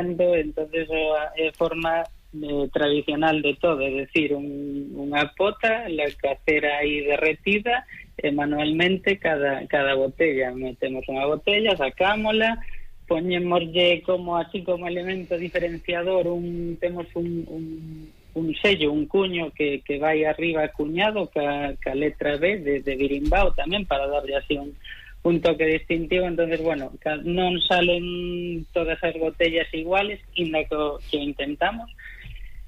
entonces é forma tradicional de todo, é dicir, unha pota, la cacera aí derretida, e manualmente cada botella, metemos unha botella, sacámola, poñémoslle como así como elemento diferenciador, temos un sello, un cuño que vai arriba cuñado ca letra B de Birimbao tamén, para darlle así un toque distintivo. Entonces, bueno, non salen todas as botellas iguales, inda que intentamos.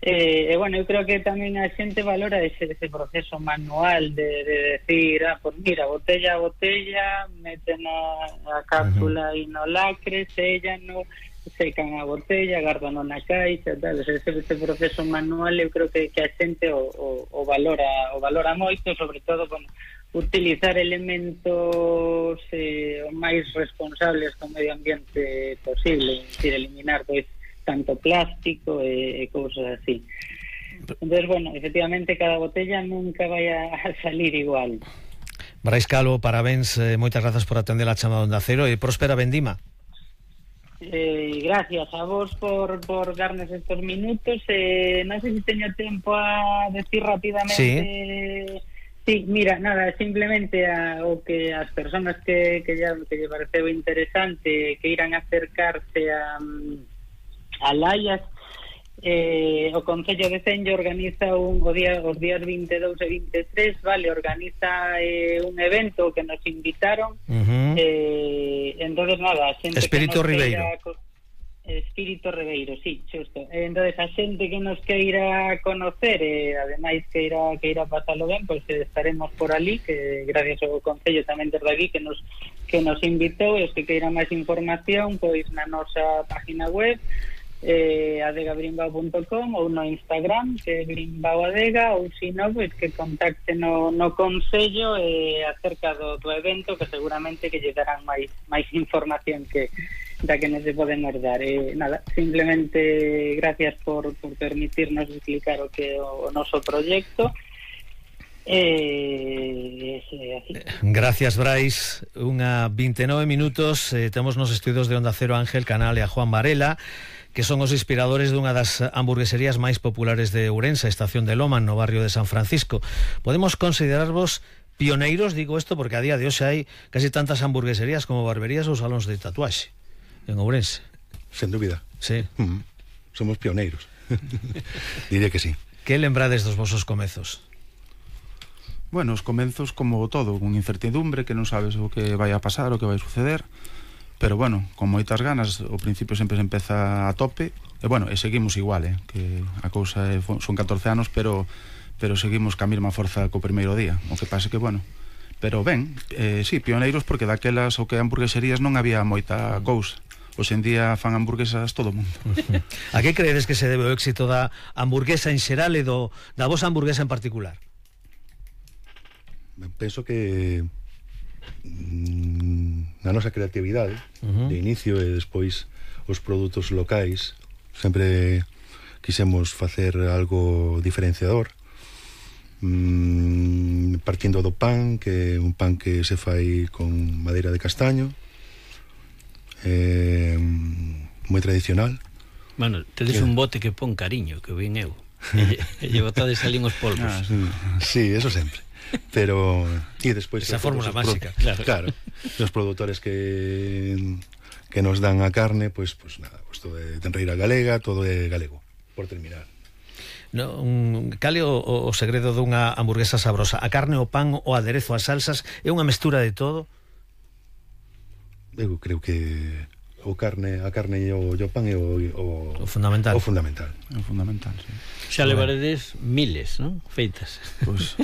Bueno, eu creo que tamén a xente valora ese proceso manual de decir, pues mira, botella a botella, meten a cápsula e no lacre, sellan, secan a botella, gardan na caixa, tal. Ese proceso manual eu creo que a xente o valora moito, sobre todo, bueno, utilizar elementos máis responsables co medio ambiente posible, es decir, eliminar pois tanto plástico e cousas así. Entonces, bueno, efectivamente cada botella nunca vai a salir igual. Brais Calo, parabéns, moitas grazas por atender a chamada Onda Cero e próspera vendima. Gracias a vos por darnos estos minutos. Non sei se teño tempo a decir rapidamente. Sí, mira, nada, simplemente o que as persoas que lle pareceu interesante que irán acercarse a Laias, o Concello de Senllo organiza os días 22 e 23, vale, organiza un evento que nos invitaron. Entonces nada, a xente Espírito Ribeiro. Espírito Ribeiro, sí, xusto. Entonces a xente que nos queira conocer, ademais que irá pasalo ben, pois estaremos por ali, que gracias ao Concello tamén desde aquí que nos invitou. E os que queiran máis información, pois na nosa página web, adegabrimbao.com, ou no Instagram, que é brimbaoadega, ou se non, pois que contacte no Concello acerca do evento, que seguramente que lle darán máis información da que nos podemos dar. Nada, simplemente gracias por permitirnos explicar o que é o noso proxecto. Gracias, Brais. Unha 29 minutos. Temos nos estudios de Onda Cero Ángel Canal e a Juan Varela, que son os inspiradores dunha das hamburgueserías máis populares de Ourense, Estación de Loma, no barrio de San Francisco. Podemos considerarvos pioneiros, digo isto porque a día de hoxe hai casi tantas hamburgueserías como barberías ou salóns de tatuaxe en Ourense. Sen dúbida. Sí. Somos pioneiros. Diré que sí. Que lembrades dos vosos comezos? Bueno, os comenzos como todo, con incertidumbre, que non sabes o que vai a pasar, o que vai suceder, pero bueno, con moitas ganas. Ao principio sempre se empeza a tope, e bueno, e seguimos igual, que a cousa son 14 anos, pero seguimos ca mesma forza co primeiro día. O que pasa que, bueno, pero ben, sí, pioneiros, porque daquelas o que hamburgueserías non había moita cousa. Hoxe en día fan hamburguesas todo o mundo. A que credes que se debe o éxito da hamburguesa en xeral e da vosa hamburguesa en particular? Penso que na nosa creatividade de inicio e despois os produtos locais sempre quisemos facer algo diferenciador, partindo do pan, que é un pan que se fai con madeira de castaño, moi tradicional. Bueno, tedes un bote que pon cariño, que vin eu, e lle botades ali uns polvos. Sí, eso sempre. Pero e despois esa fórmula máxica, claro, os produtores que nos dan a carne, pois nada, todo é tenreira galega, todo é galego, por terminar. Cal é o segredo dunha hamburguesa sabrosa? A carne, o pan, o aderezo, as salsas, é unha mestura de todo? Eu creo que a carne e o pan é o fundamental. O fundamental. O fundamental, sí. Xa levaredes miles, non? Feitas. Pois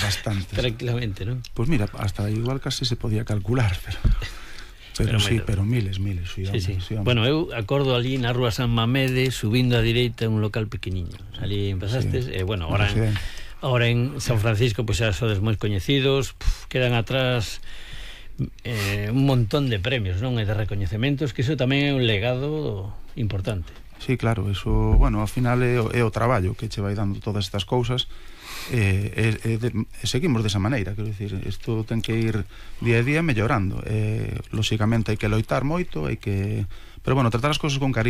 bastantes. Tranquilamente, non? Pois mira, hasta igual casi se podía calcular, pero sí, pero miles, sí. Bueno, eu acordo ali na rúa San Mamede, subindo a direita un local pequeniño. Ali empezastes, bueno, ahora en San Francisco pois xa sodes moi coñecidos, quedan atrás un montón de premios, non? E de recoñecementos, que iso tamén é un legado importante. Sí, claro, eso, bueno, ao final é o traballo que che vai dando todas estas cousas, seguimos desa maneira, quero dicir, isto ten que ir día a día mellorando, lóxicamente hai que loitar moito, pero bueno, tratar as cousas con cariño.